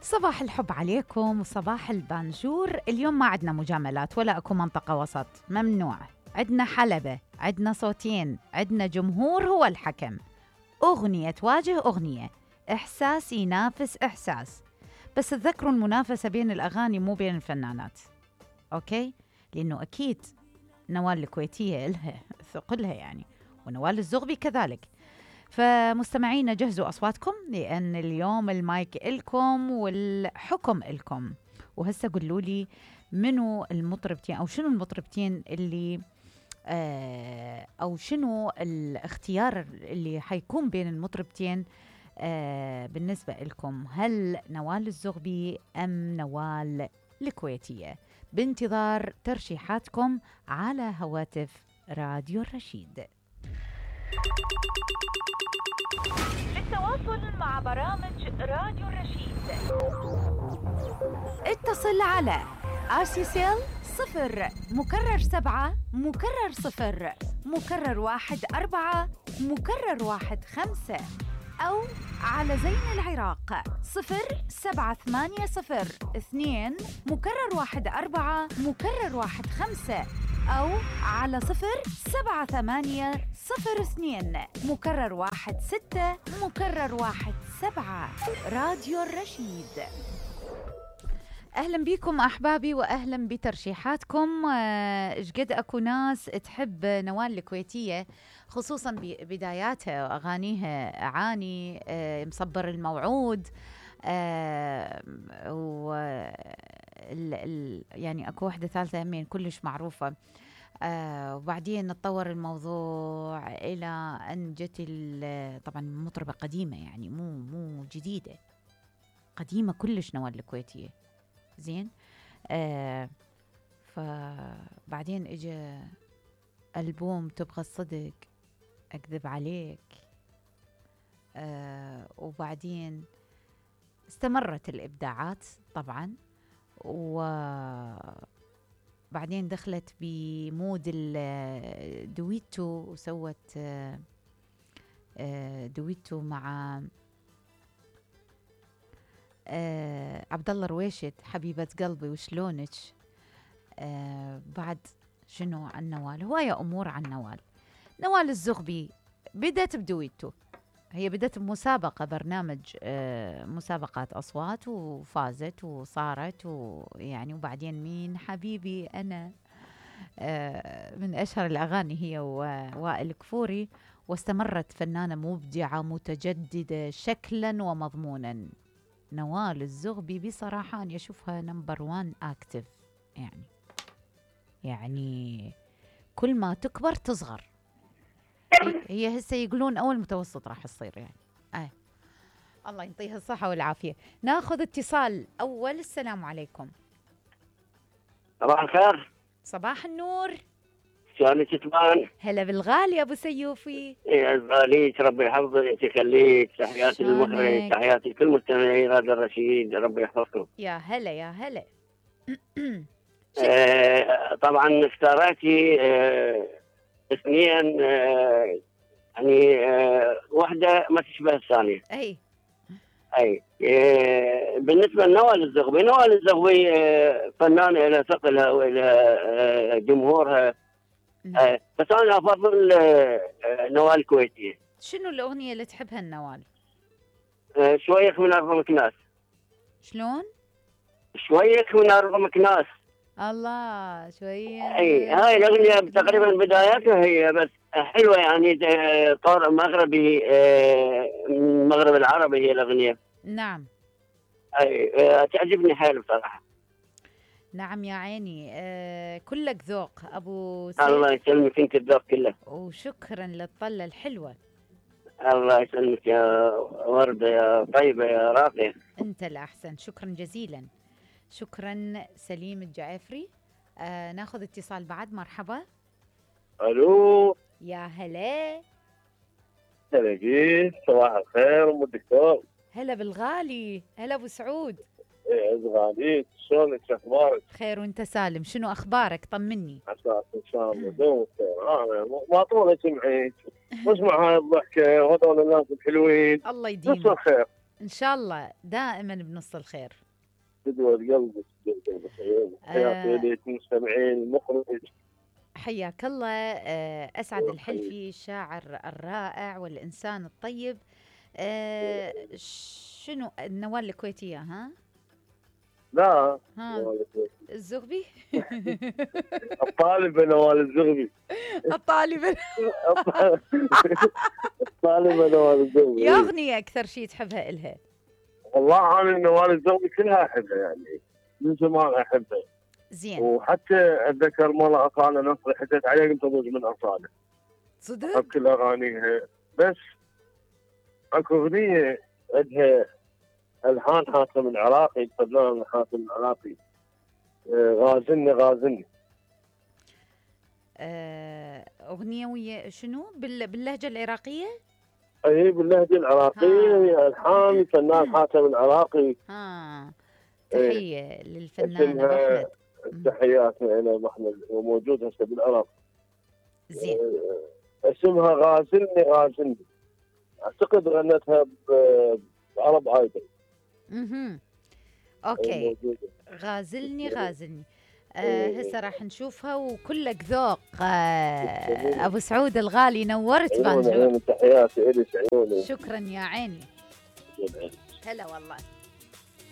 صباح الحب عليكم وصباح البانجور. اليوم ما عندنا مجاملات ولا اكو منطقة وسط، ممنوع. عندنا حلبة، عندنا صوتين، عندنا جمهور هو الحكم. أغنية تواجه أغنية، إحساس ينافس إحساس. بس تذكروا المنافسة بين الأغاني مو بين الفنانات، أوكي؟ لأنه أكيد نوال الكويتية إلها ثقلها يعني، ونوال الزغبي كذلك. فمستمعينا جهزوا أصواتكم لأن اليوم المايك إلكم والحكم إلكم. وهسه قولوا لي منو المطربتين أو شنو المطربتين اللي أو شنو الاختيار اللي حيكون بين المطربتين بالنسبة إلكم. هل نوال الزغبي أم نوال الكويتية؟ بانتظار ترشيحاتكم على هواتف راديو الرشيد. للتواصل مع برامج راديو الرشيد اتصل على RCCL 0 مكرر 7 مكرر 0 مكرر 1 4 مكرر 1 5 أو على زين العراق 07802 مكرر 1 4 مكرر 1 5 أو على 07802 مكرر 1 6 مكرر 1 7. راديو الرشيد. أهلا بكم أحبابي وأهلا بترشيحاتكم. إشقد أكو ناس تحب نوال الكويتية خصوصا ببداياتها وأغانيها، أعاني مصبر الموعود، يعني أكو واحدة ثالثة همين كلش معروفة. وبعدين تطور الموضوع إلى أن جت طبعا مطربة قديمة، يعني مو جديدة، قديمة كلش نوال الكويتية. زين. فبعدين اجى ألبوم تبغى الصدق، أكذب عليك. وبعدين استمرت الإبداعات طبعا، وبعدين دخلت بمود الدويتو وسوت دويتو مع عبد الله رويشد، حبيبة قلبي وشلونك. بعد شنو عن نوال؟ هواية أمور عن نوال. نوال الزغبي بدأت بدويتو، هي بدأت بمسابقة، برنامج مسابقات أصوات، وفازت وصارت ويعني. وبعدين مين حبيبي أنا من أشهر الأغاني هي وائل كفوري. واستمرت فنانة مبدعة متجددة شكلا ومضمونا. نوال الزغبي بصراحة أنا أشوفها نمبر 1 أكتف، يعني كل ما تكبر تصغر. هي هسه يقولون أول متوسط راح تصير يعني. الله يعطيها الصحة والعافية. ناخذ اتصال أول. السلام عليكم. صباح الخير. صباح النور. شلونك تبان؟ هلا بالغالي أبو سيوفي. يا غاليك، ربي يحفظك يخليك. تحياتي للمخرج، تحياتي لكل مستمعي راديو الرشيد، ربي يحفظكم. يا هلا يا هلا. طبعا اختارتي اثنين، يعني واحدة ما تشبه الثانية. أي بالنسبة لنوال الزغبي، نوال الزغبي فنانة إلى ثقلها وإلى جمهورها. بس أنا أفضل نوال الكويتية. شنو الأغنية اللي تحبها النوال؟ شويك من أرض مكناس. شلون؟ شويك من أرض مكناس. الله، شوية. أي هاي الأغنية تقريبا بداياتها هي بس حلوة، يعني طور مغربي، المغرب العربي هي الأغنية. نعم. أي تعجبني حيل بصراحة. نعم يا عيني. كلك ذوق أبو سيد. الله يسلمك، انت الذوق كله. وشكرا للطلة الحلوة. الله يسلمك يا وردة، يا طيبة، يا راقية. انت الأحسن، شكرا جزيلا. شكرا. سليم الجعفري. ناخذ اتصال بعد. مرحبا. الو. يا هلا. هلا جيت. صباح الخير ام الدكتور. هلا بالغالي. هلا ابو سعود. ايه غاليت، شلونك؟ شو اخبارك؟ خير وانت سالم. شنو اخبارك؟ طمني. عساك ان شاء الله دوم خير. ما طولت سمعك واسمع هاي الضحكه وهذول الناس الحلوين. الله يديمك. بس الخير. ان شاء الله دائما بنص الخير. قدوة قلبك حياتي آه ليك مستمعين المخرج. حياك الله. اسعد الحلفي الشاعر الرائع والانسان الطيب. شنو النوال الكويتيه ها؟ لا ها الزغبي. الطالب نوال الزغبي. الطالب. الطالب نوال الزغبي. يا اغنيه اكثر شيء تحبها الها؟ والله انا نوال الزغبي كلها احبها يعني من زمان احبها. زين. وحتى اتذكر مره اصاله نصري حكيت عليه قلت ابوز من اصاله. صدق؟ احب كل اغانيها بس اكو اغنيه عندها الحان حاتم العراقي، الفنان حاتم العراقي، غازلني غازلني. اغنيه ويا شنو باللهجه العراقيه؟ اي باللهجه العراقيه، الحان الفنان حاتم العراقي. تحيه للفنان ابو احمد. تحياتنا الى ابو احمد وموجود هسه بالعراق. زين. اسمها غازلني غازلني، اعتقد غنتها بعرب ايدل. اوكي. غازلني غازلني. هسه راح نشوفها وكلك ذوق. ابو سعود الغالي نورت بانجور. تحياتي الك عيوني. شكرا يا عيني. هلا والله.